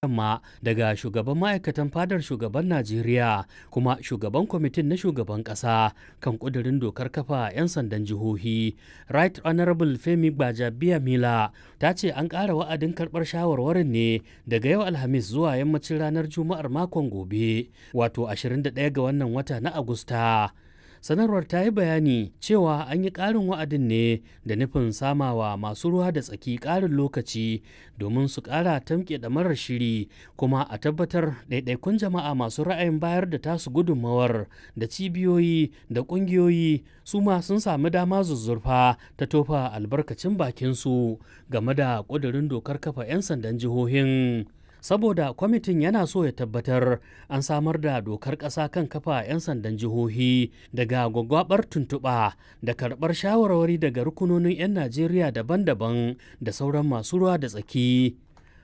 Yamma daga shugaban ma'aikatan fadar shugaban Najeriya kuma shugaban kwamitin na shugaban ƙasa kan ƙudurin dokar kafa 'yan sandan jihohi, Right Honorable Femi Gbajabiamila ta ce an ƙara wa'adin karɓar shawarwarin ne daga yau Alhamis zuwa yammacin ranar Juma'ar makon gobe, wato 21 ga wannan wata na Agusta. Sanarwar ta yi bayani cewa an yi ƙarin wa'adin ne da nufin samawa masu ruwa da tsaki ƙarin lokaci domin su ƙara tamke ɗamarar shiri kuma a tabbatar ɗaiɗaikun jama'a masu ra'ayin bayar da tasu gudunmawar da cibiyoyi da ƙungiyoyi su ma sun sami dama zuzzurfa ta tofa albarkacin bakinsu game da ƙudurin dokar kafa 'yan sandan jihohin. Saboda kwamitin yana so ya tabbatar an samar da dokar ƙasa kan kafa 'yan sandan jihohi daga gwaggwabar tuntuɓa da karɓar shawarwari daga rukunonin 'yan Najeriya daban-daban da sauran masu ruwa da tsaki.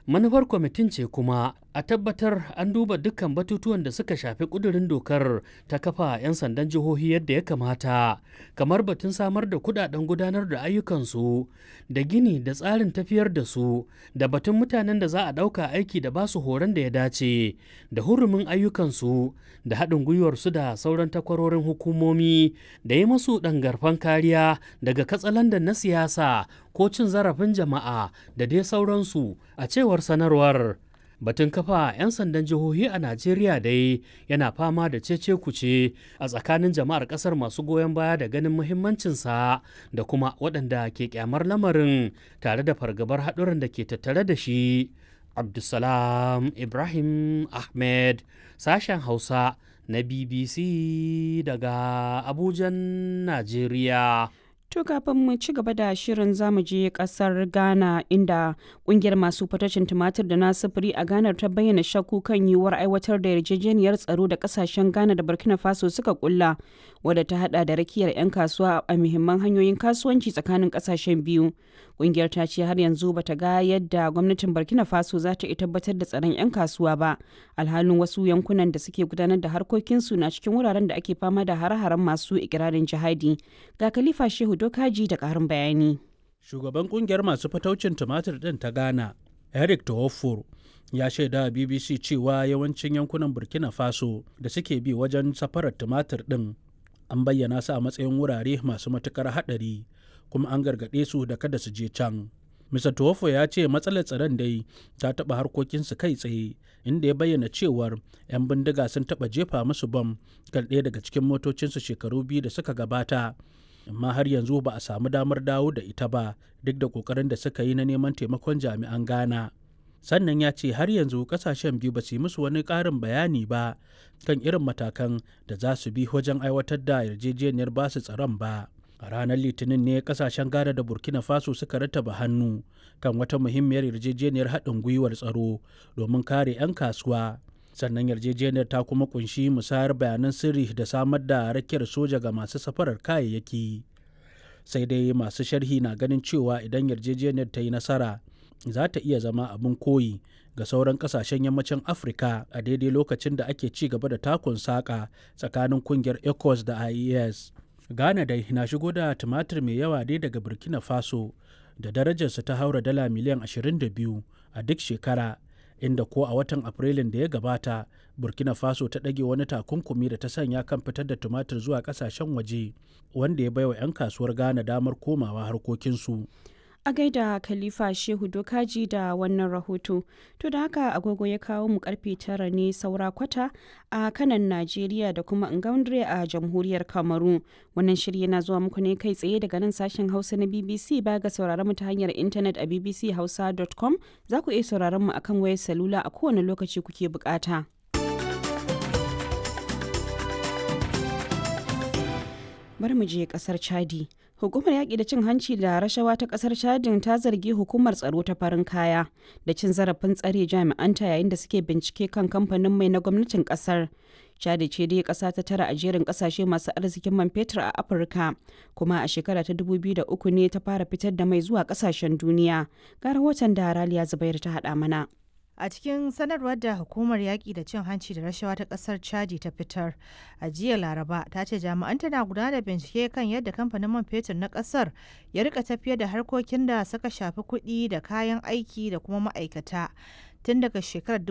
Manufar kwamitin ce kuma a tabbatar an duba dukkan batutuwan da suka shafi ƙudurin dokar ta kafa 'yan sandan jihohi yadda ya kamata, kamar batun samar da kudaden gudanar da ayyukansu da gini da tsarin tafiyar da su, da batun mutanen da za a ɗauka aiki da basu horon da ya dace, da hurumin ayyukansu, da haɗin gwiwarsu da sauran takwarorin hukumomi, da yi masu ɗangarfan kariya daga katsalandan na siyasa ko cin zarafin jama'a da dai sauransu, a cewar sanarwar. Batun kafa 'yan sandan jihohi a Najeriya dai yana fama da cece kuce a tsakanin jama'ar kasar masu goyon baya da ganin muhimmancinsa da kuma waɗanda ke kyamar lamarin tare da fargabar haɗuran da ke tattare da shi. Abdulsalam Ibrahim Ahmed, sashen Hausa na BBC daga Abujan, Najeriya. To kafin mu ci gaba da shirin, zamu je kasar Ghana, inda kungiyar masu fatacin tumatir da na sufuri a Ghana ta bayyana shakku kan yiwuwar aiwatar da yarjejeniyar tsaro da kasashen Ghana da Burkina Faso suka kulla, wadda ta hada da rakiyar 'yan kasuwa a muhimman hanyoyin kasuwanci tsakanin kasashen biyu. Kungiyar ta ce har yanzu bata ga yadda gwamnatin Burkina Faso za ta iya tabbatar da tsaron 'yan kasuwa ba, alhalin wasu yankunan da suke gudanar da harkokinsu na cikin wuraren da ake fama da hare-haren masu ikirarin jihadi. Ga Khalifa Shehu Dokaji da ƙarin bayani. Shugaban kungiyar masu fataucin tumatir ɗin ta Ghana, Eric Tohofor, ya shaida a BBC cewa yawancin yankunan Burkina Faso da suke bi wajen safarar tumatir ɗin an bayyana su a matsayin wurare masu matuƙar haɗari, kuma an gargaɗe su da kada su je can. Mr. Tuwafo ya ce matsalar tsaron dai ta taɓa harkokinsu kai tsaye, inda ya bayyana cewar 'yan bindiga sun taɓa jefa musu bam kan ɗaya daga cikin motocinsu shekaru 2 da suka gabata, amma har yanzu ba a samu damar dawo da ita ba duk da kokarin da suka yi na neman taimakon jami'an Ghana. Sannan ya ce har yanzu kasashen biyu ba su yi musu wani ƙarin bayani ba kan irin matakan da za su bi wajen aiwatar da yarjejeniyar basu tsaron ba. A ranar Litinin ne kasashen Ghana da Burkina Faso suka rattaba hannu kan wata muhimmiyar yarjejeniyar haɗin gwiwar tsaro domin kare 'yan kasuwa. Sannan yarjejeniyar ta kuma kunshi musayar bayanan sirri da samar da rakiyar soja ga masu safarar kayayyaki. Sai dai masu sharhi na ganin cewa idan yarjejeniyar ta yi nasara, za ta iya zama abin koyi ga sauran kasashen yammacin Afirka a daidai lokacin da ake ci gaba da takun saƙa tsakanin kungiyar ECOWAS da IES. Ghana dai na shigo da tumatir mai yawa dai daga Burkina Faso da darajarsa ta haura dala miliyan 22 a duk shekara, inda ko a watan Afrilun da ya gabata Burkina Faso ta ɗage wani takunkumi da ta sanya kan fitar da tumatir zuwa ƙasashen waje, wanda ya baiwa 'yan kasuwar Ghana damar komawa harkokinsu. A gaida Khalifa Shehu Dokaji da wannan rahoto. To da haka agogo ya kawo mu karfe 9 ne saura kwata a kanan Najeriya da kuma Ngaundre a jamhuriyar Kamaru. Wannan shiri yana zuwa muku ne kai tsaye daga nan sashen Hausa na BBC. Ba ga sauraron mu ta hanyar intanet a bbchausa.com, za ku iya sauraron mu akan wayar salula a kowane lokaci kuke bukata. Bari mu je kasar Chadi. Hukumar yaƙi da cin hanci da rashawa ta ƙasar Chadin ta zargi hukumar tsaro ta farin kaya da cin zarafin tsare jami'anta yayin da suke bincike kan kamfanin mai na gwamnatin ƙasar. Chadi ce dai ƙasa ta tara a jerin ƙasashe masu arzikin man fetur a Afirka, kuma a shekara ta 2003 ne ta fara fitar da mai zuwa ƙasashen duniya. Ga rahoton da Raliya Zubairu ta haɗa mana. A cikin sanarwar da hukumar yaƙi da cin hanci da rashawa ta ƙasar Chadi ta fitar a jiya Laraba, ta ce jami'an tana gudanar da bincike kan yadda kamfanin man fetur na ƙasar ya rika tafiyar da harkokin da suka shafi kuɗi da kayan aiki da kuma ma'aikata. tun daga shekarar